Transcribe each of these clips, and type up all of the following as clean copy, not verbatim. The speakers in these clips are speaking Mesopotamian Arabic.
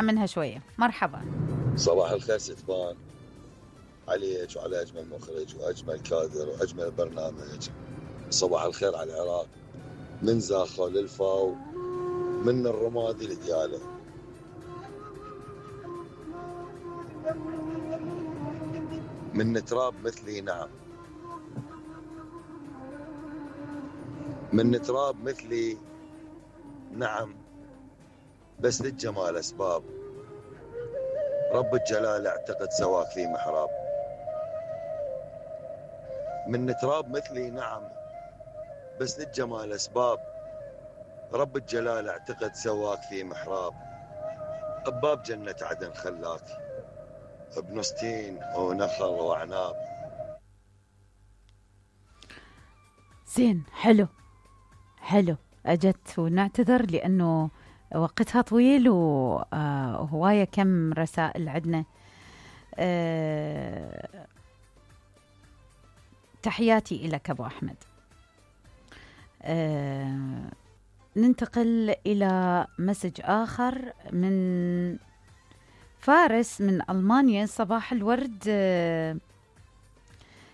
منها شوية. مرحبا. صباح الخير ستبان عليك وعلى أجمل مخرج وأجمل كادر وأجمل برنامج. صباح الخير على العراق من زاخو للفاو، من الرمادي لدياله. من تراب مثلي نعم، من تراب مثلي نعم، بس للجمال أسباب، رب الجلال اعتقد سواك في محراب. من تراب مثلي نعم، بس للجمال أسباب، رب الجلال اعتقد سواك في محراب. بباب جنة عدن خلاك بنصتين ونخل وعناب. زين، حلو حلو. أجت ونعتذر لأنه وقتها طويل وهواية كم رسائل عدنا. تحياتي إلك أبو أحمد. ننتقل إلى مسج آخر من فارس من ألمانيا. صباح الورد.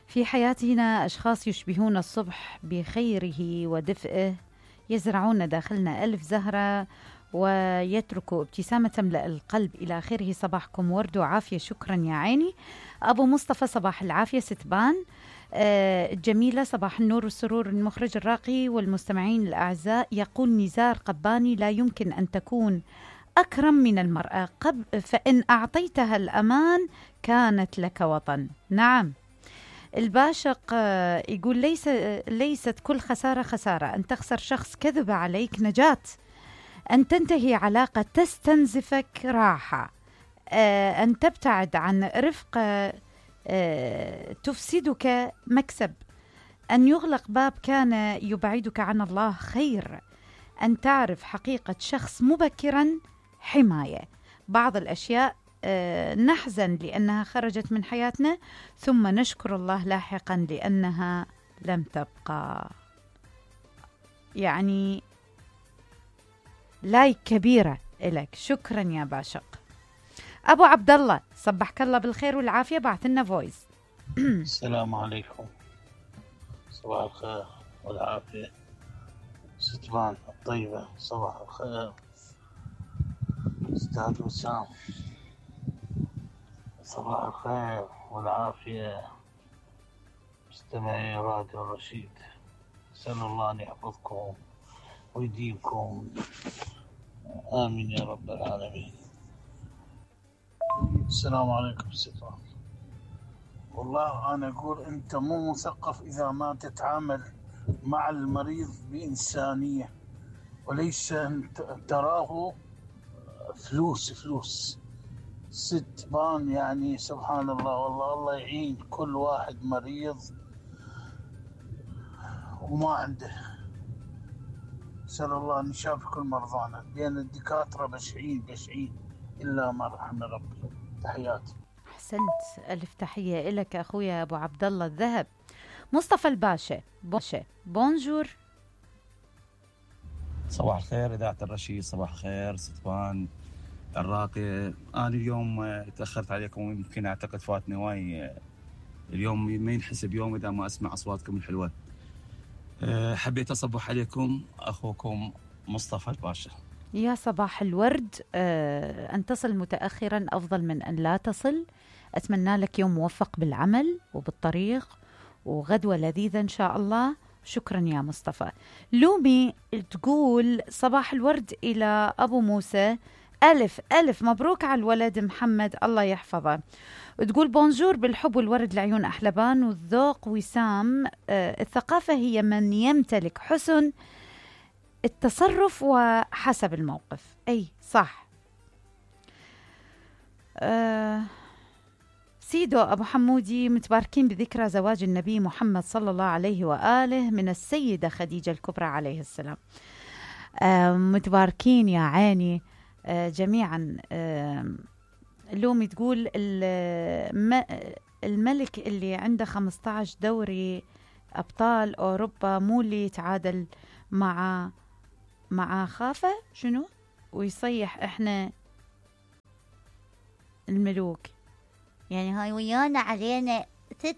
في حياتنا أشخاص يشبهون الصبح بخيره ودفئه، يزرعون داخلنا ألف زهرة ويتركوا ابتسامة تملأ القلب إلى آخره. صباحكم ورد وعافية. شكرا يا عيني. أبو مصطفى صباح العافية. ستبان الجميلة صباح النور والسرور. المخرج الراقي والمستمعين الأعزاء، يقول نزار قباني: لا يمكن أن تكون أكرم من المرأة، فإن أعطيتها الأمان كانت لك وطن. نعم. الباشق يقول ليست كل خسارة خسارة، أن تخسر شخص كذب عليك نجاة، أن تنتهي علاقة تستنزفك راحة، أن تبتعد عن رفقة تفسدك مكسب، أن يغلق باب كان يبعدك عن الله خير، أن تعرف حقيقة شخص مبكرا حماية. بعض الأشياء نحزن لأنها خرجت من حياتنا، ثم نشكر الله لاحقا لأنها لم تبقى. يعني لايك كبيرة إلك. شكرا يا باشق. أبو عبد الله صبحك الله بالخير والعافية، بعث لنا فويس. السلام عليكم. صباح الخير والعافية. ستبان الطيبة صباح الخير. أستاذ وسام صباح الخير والعافية. مستمعي راديو الرشيد، أسأل الله أن يحفظكم ويديمكم، آمين يا رب العالمين. السلام عليكم ستبان. والله أنا أقول أنت مو مثقف إذا ما تتعامل مع المريض بإنسانية، وليس تراه فلوس. ستبان يعني سبحان الله، والله الله يعين كل واحد مريض وما عنده. أسأل الله أن يشافي كل مرضانا، لأن الدكاترة بشعين إلا ما رحم ربي. تحياتي. أحسنت، ألف تحية لك أخويا أبو عبد الله الذهب. مصطفى الباشا بونجور. صباح الخير إذاعة الرشيد. صباح الخير ستبان الراقي. أنا اليوم تأخرت عليكم، ويمكن أعتقد فاتني هواي اليوم، ما ينحسب يوم إذا ما أسمع أصواتكم الحلوة. حبيت أصبح عليكم، أخوكم مصطفى الباشا. يا صباح الورد. أن تصل متأخرا أفضل من أن لا تصل. أتمنى لك يوم موفق بالعمل وبالطريق وغدوة لذيذة إن شاء الله. شكرا يا مصطفى. لومي تقول صباح الورد إلى أبو موسى. ألف مبروك على الولد محمد، الله يحفظه. تقول بونجور بالحب والورد لعيون أحلبان والذوق وسام. الثقافة هي من يمتلك حسن التصرف وحسب الموقف. أي صح. سيدو أبو حمودي: متباركين بذكرى زواج النبي محمد صلى الله عليه وآله من السيدة خديجة الكبرى عليه السلام. متباركين يا عيني جميعا. لومي تقول الملك اللي عنده 15 دوري أبطال أوروبا مو اللي يتعادل مع خافة شنو ويصيح إحنا الملوك، يعني هاي ويانا علينا ست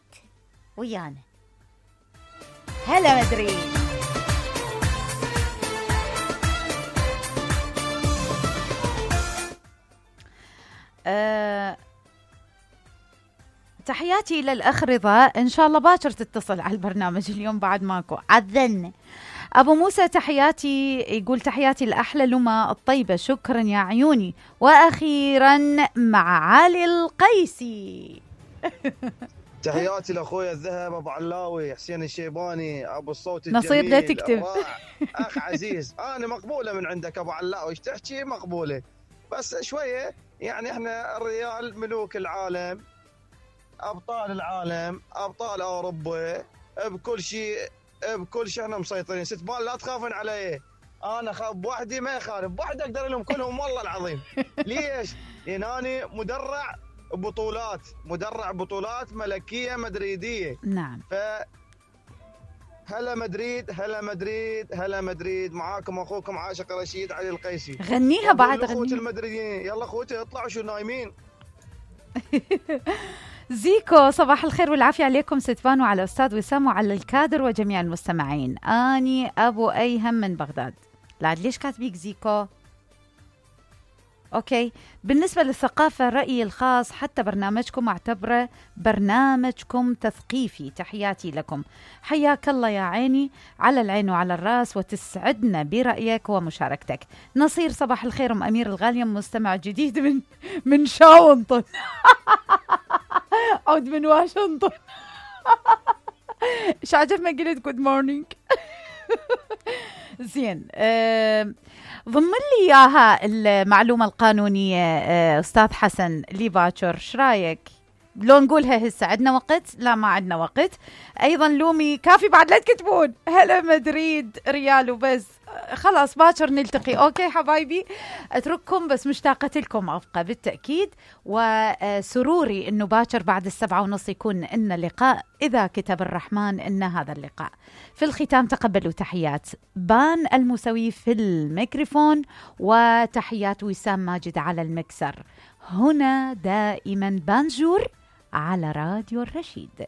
ويانا. هلا مدريد. تحياتي للأخ رضا، إن شاء الله باكر تتصل على البرنامج اليوم بعد ماكو عذلنا. أبو موسى تحياتي، يقول تحياتي الأحلى لما الطيبة، شكرا يا عيوني. وأخيرا مع علي القيسي. تحياتي لاخويا الذهب ابو علاوي، حسين الشيباني، ابو الصوت الجميل نصير لا تكتب. اخ عزيز، انا مقبوله من عندك ابو علاوي، ايش تحكي مقبوله، بس شويه يعني احنا الريال ملوك العالم، ابطال العالم، ابطال اوروبا، بكل شيء احنا مسيطرين. ست بال لا تخافون علي، انا خاف بوحدي ما يخالف، بوحدي اقدر لهم كلهم والله العظيم. ليش؟ لان انا مدرع بطولات ملكيه مدريديه. نعم. هلا مدريد، هلا مدريد، هلا مدريد، معاكم اخوكم عاشق رشيد علي القيسي. غنيها بعد، اخوت المدريدين، يلا اخوتي اطلعوا شو نايمين. زيكو، صباح الخير والعافية عليكم ستفان وعلى أستاذ وسام وعلى الكادر وجميع المستمعين. أني أبو أيهم من بغداد. لا ليش كاتبيك زيكو؟ أوكي. بالنسبة للثقافة رأيي الخاص، حتى برنامجكم أعتبره برنامجكم تثقيفي. تحياتي لكم، حياك الله يا عيني، على العين وعلى الراس، وتسعدنا برأيك ومشاركتك. نصير صباح الخير، أم أمير الغالية، مستمع جديد من شاونطن. عود من واشنطن. ايش عجب ما قلت جود مورنينج. زين، ضمن لي اياها المعلومه القانونيه استاذ حسن لي باكر، ايش رايك؟ لو نقولها هسه عندنا وقت؟ لا ما عندنا وقت. ايضا لومي كافي بعد لا تكتبون هلا مدريد ريال وبس، خلاص باكر نلتقي. اوكي حبايبي، اترككم بس مشتاقة لكم ابقى بالتأكيد، وسروري انه باكر بعد 7:30 يكون ان لقاء اذا كتب الرحمن ان هذا اللقاء. في الختام تقبلوا تحيات بان المسوي في الميكروفون، وتحيات وسام ماجد على المكسر. هنا دائما بانجور على راديو الرشيد.